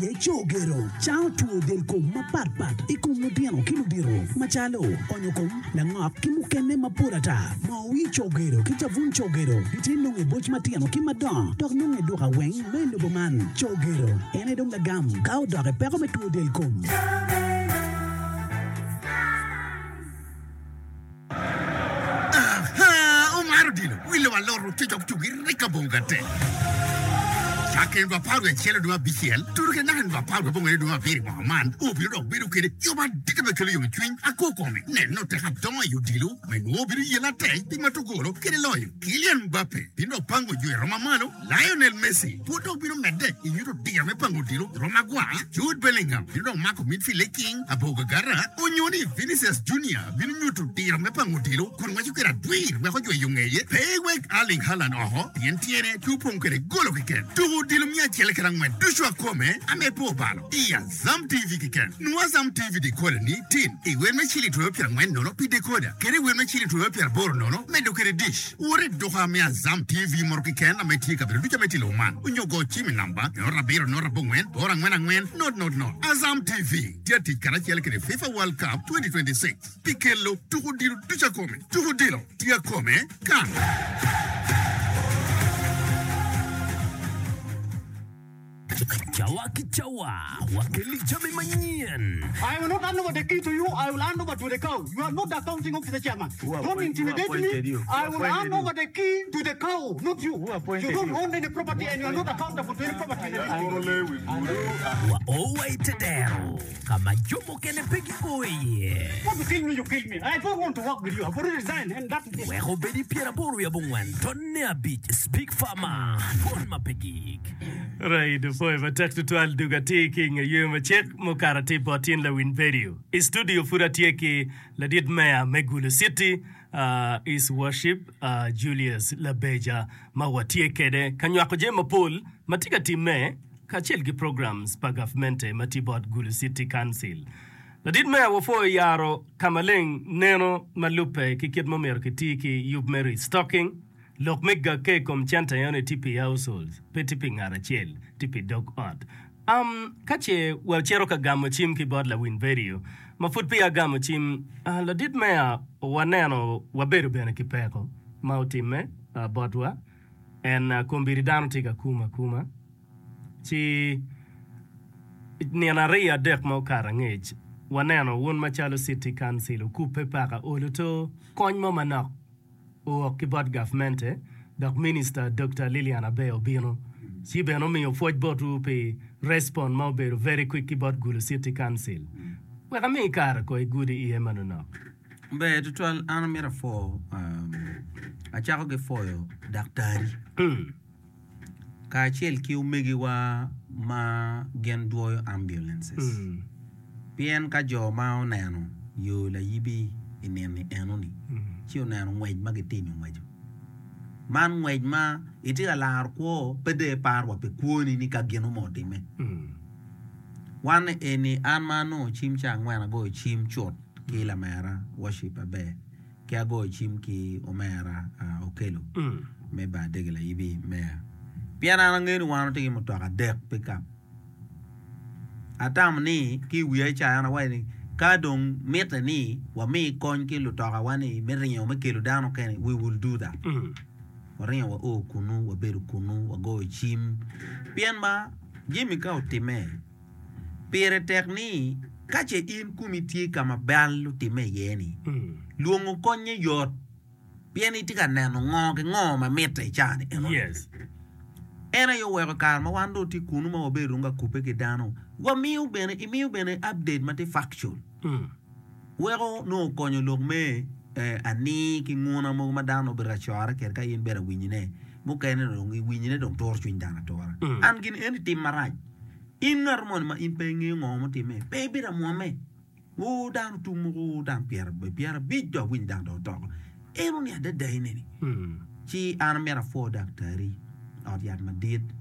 aye Cogero, cango two del kom mapat pat i kom lutino ki ludito macalo onyo kom, langok ki mukene mapol ata. Moo wir Cogero ki cabun Cogero gitye nongo i boc matino ki madongo dok nongo i duka weng ma i lobo man. Cogero en aye dong lagam ka odok i peko me two del kom. Aha! Omaro odilo, wi lobo alot ocuc ok cugi rik abongo gate. Cakke nino 11 dwe abicel tudo kede naka nino 18 dwe abiro i mwaka man, obino dok bedo kede yo madit me kelo yomcwiny akwo kome. Neno tek adongo i odilo me nwo obino yelo atek pi mato golo kede loyo. Kylian Mbappe bino dok pango jo i roma malo. Lionel Messi pud dok bino medde i nyuto diro me pango odilo i rom agwar, Jude Bellingham bino dok mako midfield i king abor gagara, onyo ni Vinicius Junior bino nyuto diro me pango odilo kun ngweco kwede adwir wek ojwe yo ngeye. Pe iwek Erling Haaland oko pien tyene tye opong kwede golo keken. Tuko odilo miya acel kede angwen ducu akome ame pe obalo i Azam TV keken. Nwo Azam TV decoder ni tin i wel me ciling twero pyerangwen nono pi decoder kede i wel me ciling twero pyeraboro nono medo kwede dish. Wot i duka me Azam TV moto keken ame tye i kabedo ducu ame tye i lobo man, onyo go cim i namba 0 7 0 8 4 4 0 0 0. Azam TV tye atic karacel kede FIFA World Cup 2026 pi kelo tuko odilo ducu akome. Tuko odilo tye akome kan. Cawa ki cawa, wakelli jami manyen. I will not hand over the key to you, I will hand over to the cow. You are not the accounting officer chairman. Don't intimidate me. I will hand over the key to the cow, not you. You don't own any property and you are not accountable to any property in the district. Wa o wa i te dero ka ma jo mukene pe gio iye. Want to kill me, you kill me. I don't want to work with you. I've already resigned and that is it. Wek obed i pyeraboro wiye abongwen tonne abic Speak Farmer, Dwon ma pe gik. Right, opwoyo matek tutwal dug atir ki inge yweyo macek mukato atir bot tin lawiny vedio. I studio pud atye ki ladit meya me Gulu City, uh, His Worship uh, Julius Labeja ma watye kede ka nywako jami mapol ma tye ka timme kacel ki programs pa gavmente ma tye bot Gulu City Council. Ladit meya wapwoyo yaro ka maleng neno ma lubbe ki kit ma omyero kiti ki yub me restocking. Lok me gakke i kom cente eno ni tye pi households, pe tye pi ngat acel, tye pi dog ot. Um, ka ce wacito ka gamo cim ki bot lawiny vedio ma pud peya agamo cim, uh, ladit meya waneno wabedo bene ki peko ma otimme uh, botwa. En uh, kombeddi dano tye ka kumo akuma. Ci nino ariyo adek ma okato angec, waneno wun macalo City Council okubbe paka olo to kony mo manok. owok ki bot gavmente dok Minista Dokta Lilian Aber obino ci bene omiyo pwoc botwu pi respon ma obedo very quick ki bot Gulu City Council. Wek ami kare ko igudi iye manonok. Ber tutwal an amito apwo acako ki pwoyo daktari kacel ki omegiwa ma gin dwoyo ambulances pien ka jo ma oneno yo layibi i nino enoni ci oneno ngwec ma gitimo ngweco man ngwec ma itye ka laro kwo pe dong iparo wa pi kwoni ni ka gin mo otimme wan eni an ma anongo cim ca angwen agoyo cim cut ki lamera worship aber. ki agoyo cim ki omera Okello me bar dege layibi meya pien an angeyo ni wan watye ki mutoka adek pikap atamo ni ki i wiya ca an awaco ni ka dong mitte ni wami kony ki lutokawa ni me ringo me kelo dano mukene we will do that waringo wao kunu wabedo kunu wagoyo cim pien ma jami ka otimme Pire tek ni ka ce in komi tye ka ma bal otimme iye-ni, lwongo konnye yot pien itye ka neno ngo ki ngo ma mitte i caa-ni enoni. En aye oweko i kare ma wan dong watye kunu ma wabedo dong ka kubbe ki dano, wamiyo bene, imiyo bene update ma tye factual weko nongo okonyo lok me anii ki nguna mogo ma dano nongo obedo ka core kwede ka in ibedo ka winyone mukene dong iwinyone dong turo cwiny dano atura. An gin eni tim marac. In ngat moni ma in pe ingeyo ngo mutimme, pe ibedo amwomme. Oo, dano otum moko, oo, dano pyerabic dong awinyo dano dong otoko. Eno ni adada ineni. Ci an amito apwo daktari, ot yat madit.